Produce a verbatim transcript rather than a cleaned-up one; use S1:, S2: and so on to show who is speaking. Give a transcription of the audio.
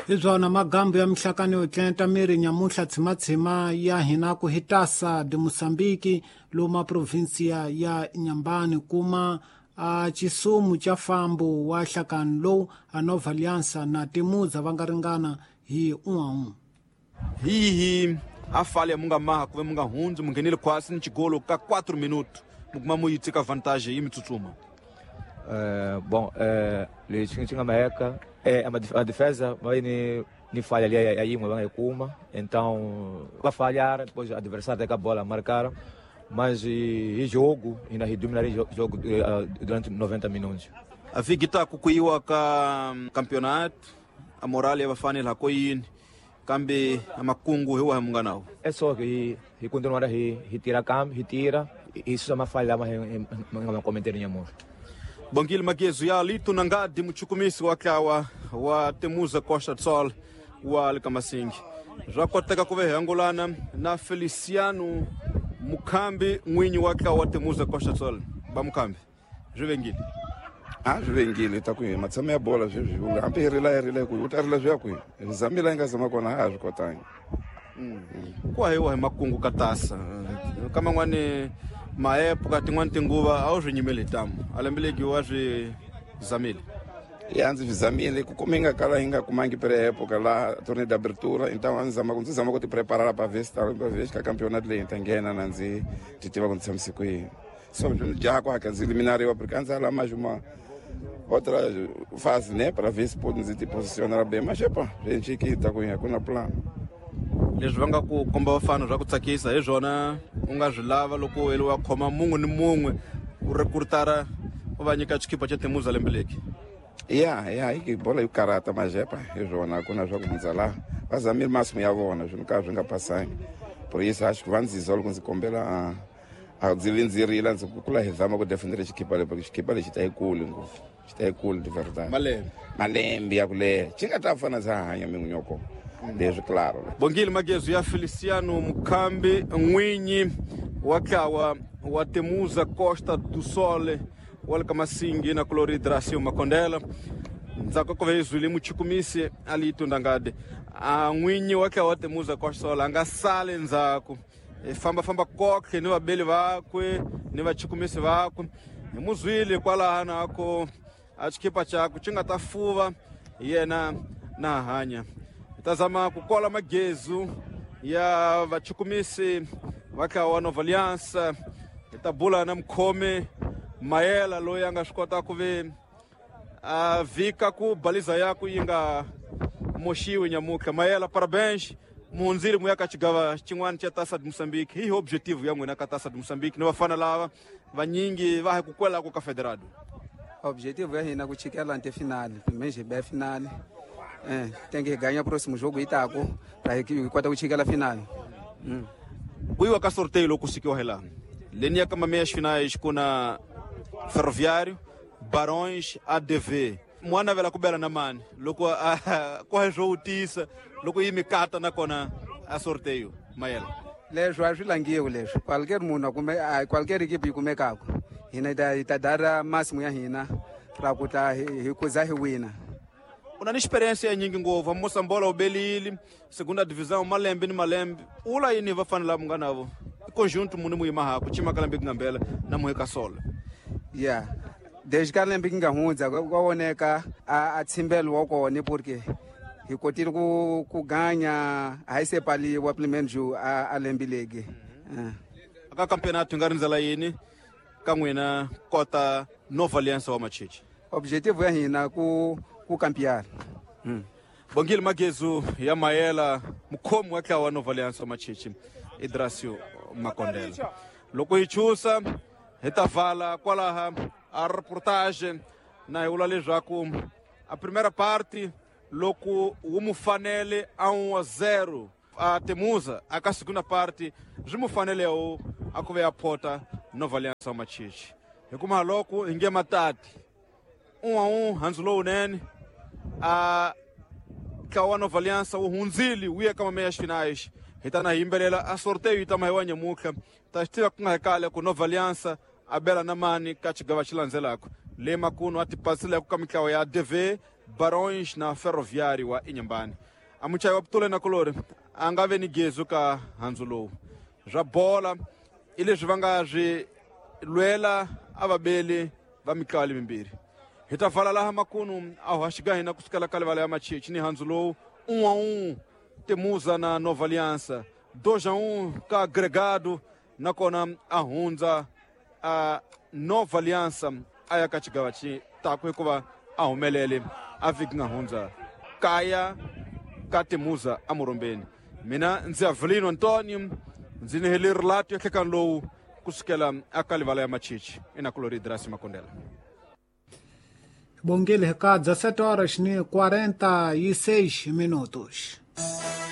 S1: Hi byona magambo ya mihlakano yo tlenta miri nyamuhla tshimatshima ya hina ku hitasa de Moçambique loma provinsia ya Inhambane kuma a chisumu cha fambo wa hlakano lowu a Nova Aliança na Temuza va nga ringana hi un'we.
S2: Hihi a falha munga maha kuve munga hundzi munghenile khwasi ni xigolo ka quatro minutos mukuma mu yi tshika vantagem yi mi tsutsuma.
S3: Uh, bom, uh, lexi xi nga maheka é a defesa vai ni ni falha ali aí uma vai kuma, então vai falhar, depois o adversário tem a bola marcar, mas e, e jogo e na dominar jogo durante noventa minutos.
S2: A vigita kukuiwa ka campeonato, a moral ya vafana la koyini kambe amakungu hiwa hamunganawo.
S3: É só que e continuar a retirar cambio, retira, isso é uma falha mas não cometer nenhum.
S2: Bongile Magezu ya Lito Nangadi muchukumisi wa tlawa wa Temuza Costa do Sol wa Likamasingi. Zwa koteka kuve hangulana na Feliciano Mukambi mwinyi wa tlawa wa Temuza Costa do Sol. Ba Mukambi, zvivengile.
S4: Ah, zvivengile takuye matsama ya bola zvezvi hambi hi rila hi rila ku u ta rila swi ya kwihi zamila yi nga zama kona a swi kotangi.
S2: Ku hayiwa hi makungu ka tasa ka man'wani maepo tin'wani tinguva a wu swi nyimeli tamu a lembe legi wa swi zamile.
S4: Ya ndzi swi zamile ku kuma yi nga kala yi nga kumangi pre-época laha tournée d'abertura, então a ndzi zama ku ndzi zama ku ti preparar pa ver se pa ver ka campeonato leyi ni ta nghena na ndzi ti tiva ku ndzi tshamise kwihi. So ndzi jaha ku hakela ndzi eliminariwa porque a ndzi ala mais uma outra fase, né, para ver se pode ndzi ti posicionar bem, mas epa, gente que ta ku ya ku na plano.
S2: Leswi va nga ku komba vafana swa ku tsakisa hi swona u nga swi lava loko u wa khoma mun'we ni mun'we u rekrutara u va nyika xikipa xa Temuza lembe leki.
S4: Ya ya hi bola yo karata mas epa hi swona ku na swa ku hundza laha va zamile masimu ya vona swi ka swi nga pasangi, por isso acho que va ndzi zwa loko ndzi kombela a a ndzi vi ndzi rila ndzi ku kula hi zama ku defendera xikipa leyi porque xikipa lexi ta yi kuli ngopfu xi ta yi kuli de verdade
S2: malembe
S4: malembe ya ku leha xi nga ta fana ndza hanya min'winyoko leswi claro.
S2: Bongile Magezu ya Feliciano Mukambi mwinyi wa tlawa wa Temuza Costa do Sol wa le ka Masingi na Cloridracio Makondela. Ndzhaku ka ku ve zwile muchukumisi ali Tundangade a n'winyi wa tlawa wa Temuza Costa Sol a nga sali ndzhaku e famba famba kokhe ni vabeli vakwe ni vachukumisi vakwe hi muzwile kwalaha nako a xikipa chakwe xi nga ta fuva yena na hanya. Tazama kukola magezu ya vachukumisi va tlawa wa Nova Aliança tabula na mukhomi Mayela loyi a nga swi kota ku ve a vika ku baliza yaku yi nga moxiwi nyamutlha. Mayela, parabéns, muhundzile mu ya ka xigava xin'wana xa Taça de Moçambique. Hi objetivo ya n'wina ka Taça de Moçambique ni vafana lava vanyingi va ha ku kwelako ka Federado?
S5: Objetivo ya hina ku chikela nte finale, pelo hi be finale. É, tem que ganhar o próximo jogo Itaco para que kota ku chikela finale. Mm.
S2: Kuiwa ka sorteio loko sikiwa hela. Lenia kama meias finais kuna Ferroviário, Barões, A D V. Mwana vela kubela na mani loko ko jogo tisa loko yi mikata na kona a sorteio Mayela.
S5: Leswo a swi langiwi leswo. Qualquer munhu kumbe qualquer equipe yi kumekaka hina hi ta dara máximo ya hina ra ku ta hi kuza hi wina.
S2: Una ni experiência nyingi ngopfu Moçambola ubelile segunda divisão malembe ni malembe ula yini va fanela munga navo i conjunto muni mu yima haku chima kalambe ngambela na muheka sola.
S5: Yeah, desde ka lembe nga hundza kwa voneka a tsimbelo wa kona porque hi kotile ku ku ganya a hi sepaliwa pelo menos a a lembe legi.
S2: Aka campeonato nga rindzela yini ka n'wina kota Nova Aliança wa Machichi?
S5: Objetivo ya hina ku ku campear. Mm.
S2: Bongile Magezu ya Mayela mukhomi wa tlawa wa Nova Aliança wa Machichi Idracio Makondela. Loko hi chusa hi ta vala kwalaha a reportage na hi vula leswaku a primeira parte loko wu mu fanele a um a zero a Temuza a ka segunda parte swi mu fanele wu a ku ve ya phota Nova Aliança wa Machichi. Hi kuma loko hi nge matati um a um handzu lowunene a tlawa wa Nova Aliança wu hundzile wu ya ka meias finais. Hi ta na hi yimbelela a sorteio yi ta mahiwa nyamutlha ta xi tiva ku nga hi kale ku Nova Aliança a bela na mani ka xigava xi landzelaka le makunu a ti pasileku ka mitlawa ya A D V, Barões na Ferroviário wa Inhambane. A muchayi wa Putule na Kulori a nga ve ni gezu ka handzu lowu. Swa bola i leswi va nga swi lwela a vabeli va mitlawa lemimbirhi. Hi ta vala laha makunu a hoxa hina kusukela ka livala ya Machichi ni handzu lowu um a um Temuza na Nova Aliança, dois a um ka Agregado, nakona a hundza a Nova Aliança a ya ka xigava xi taku hikuva a humelele a vhiki nga hundza kaya ka Temuza eMurumbeni. Mina ndzi Avelino Antonio, ndzi ni heleri relato ya nhlekani lowu kusukela aka livala ya Machichi enakulori Drasi Makondela.
S1: Bongile ka dezessete horas e quarenta e seis minutos.